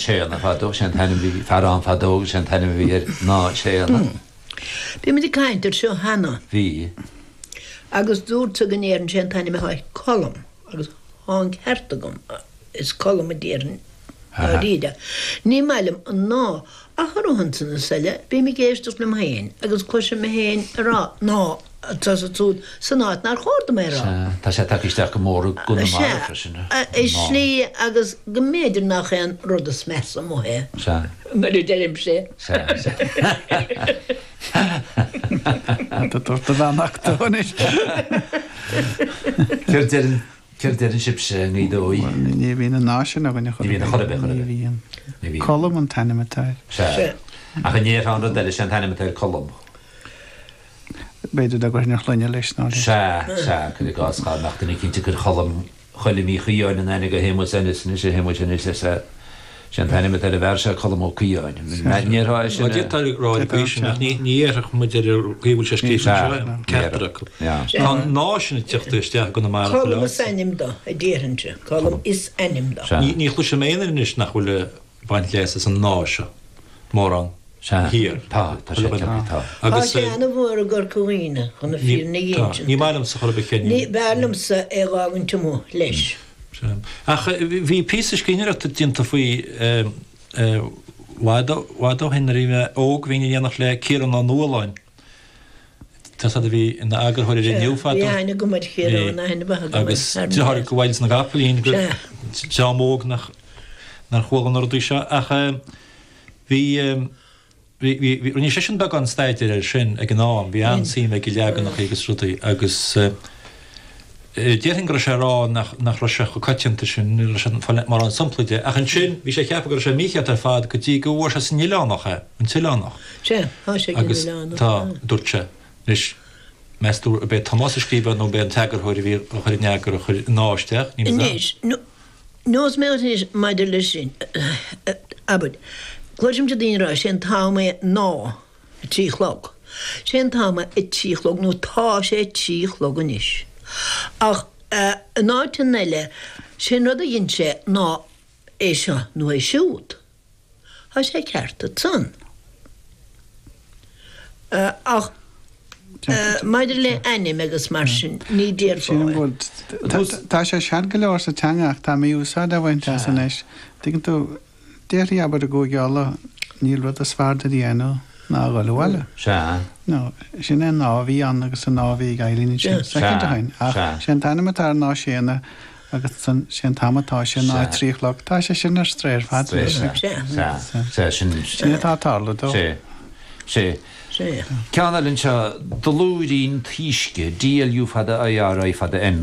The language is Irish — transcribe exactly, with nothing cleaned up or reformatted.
Séanna fadó, sé an t-ainm bhí fear ann fadó agus sé an t-ainm a bhí air ná Séanna. Bhí muid ag caint ar seo cheana. Bhí. Agus dúrtsa go ndéarfainn sé an t-ainm atá air Colm agus tá an ceart agam, is Colm a déarfainn dáiríre. Ní maith liom an ná ach ar ansan is eile bím ag éisteacht liom féin agus cloisim mé féin ag rá ná anso is ansúd san áit nár chóir dom é a rá. Sea, tá sé tagtha isteach go mór i gConamara freisin. Sea, i slí agus go mb'fhéidir nach é an rud is measa amuigh é. Sea. Nuair a deirimse é. Sea, sea. Tá tú ag tabhairt do bheannacht dó anois. Céard deireann, céard deireann sibhse i nGaoth Dobhair? Bhuel, ní bhíonn an ná sin againn a chor Ní ar bhíonn a bith. chor ar bith, chor ar Ní bith. bhíonn. Ní bhíonn. Colm an t-ainm atá air. Sea. Sea. Ach an ndéarfá an rud eile, sé an t-ainm atá air Colm. B'fhéidir dá gcuirfinn ar shloinne leis ná leis. Sea, sea, cuir i gcás, dhá mbeadh duine eicínt ag cur Cholm, Choilm Uí Chaodháin in aithne do Shéamus Ennis anois, a Shéamuis anois, is ea, sé an t-ainm atá ar an bhfear seo Colm Ó Caodháin. Ndéarfá é sin Bhuel, a. d'fhéadfá a rá ar an gcaoi sin, ach ní ní dhéarfadh muid ar an gcaoi a bhfuil sé scríofa Sea, anseo, ní ceachtar dhéarfadh. acu. Yeah. Tá an ná sin ag teacht isteach i gConamara chuile Colm is áit. ainm do, a déarfainnse. Colm is ainm do. Sea. Ní ní chloisim aon duine anois nach bhfuil ag baint leas as an ná seo, mórán. Sea, thiar. tá, tá sé tagtha, tá. Tá Agus sé ana-mhór i gCorca Dhuibhne, chun na fírinne a tá, insint. ní maith liomsa chor ar bith céard Ní, b'fhearr liomsa é dh'fhágaint amuigh leis. Sea. Ach bhí píosa scríbhneoireachta déanta faoi i bhfad ó bhfad ó shin nuair a bhí mé óg, bhínn in éineacht le Ciarán Ó Nualláin, tá fhios a'd a bhí ina eagarthóir ar Sea, Inniu bhí fadó. aithne agam ar Bhí. Chiarán, aithne mhaith agam air, Agus thar deartháir meas. go bhfaighidh na gcapaillín go Sea. dream óg nach nár chuala na rudaí seo ach bhí Bhí, bhí, bhí, rinne seisean beagán staidéir air sin ag an am, bhí an-suim aige i leaganacha agus rudaí agus déarfainn go raibh sé ag rá nach, nach raibh sé chomh coitianta sin, ní raibh sé ag fáil mórán samplaí de. Ach ansin, bhí sé ag ceapadh go raibh sé mícheart ar fad go dtí go bhfuair sé san Oileánach é, an tOileánach. Sea, tá sé ag an Agus Oileánach, tá, tá. dúirt sé. Anois, meas tú ab é Tomás a scríobh é nó ab é an t-eagarthóir a bhí á chur in eagar a chuir an ná isteach, níl 'fhios a'm. Anois, nó, nós mé anois maidir leis sin, abair, Cloisimse daoine ag rá, sé an t-am é ná a trí a chlog. Sé an t-am é a trí a chlog nó tá sé a trí a chlog anois. Ach in áiteanna eile, sé an rud a dhein sé ná é seo nó é siúd. Tá sé ceart ansan. Ach maidir le ainm agus mar sin, ní déarfá é. Tá sé sean go leor sa teanga ach tá mí-úsáid á bhaint as anois. Tuigeann tú, Déarfaí, abair, i gCúige Uladh, níl rud is fearr duit a dhéanamh ná a dhul abhaile. Sea. No, sin é an ná a bhí ann agus an ná a bhí ag Eileen ansin, soicind ó shin. Ach sé an t-ainm atá air ná Séanna agus ansan sé an t-am atá sé ná a trí a chlog. Tá sé sin ar strae ar fad anois. Sea, sea, sea, sin. Sin atá ag tarlú dó. Sea, sea. Sea. Ceann eile anseo, Dlúirín Taoisce, D L U fada I R I fada M.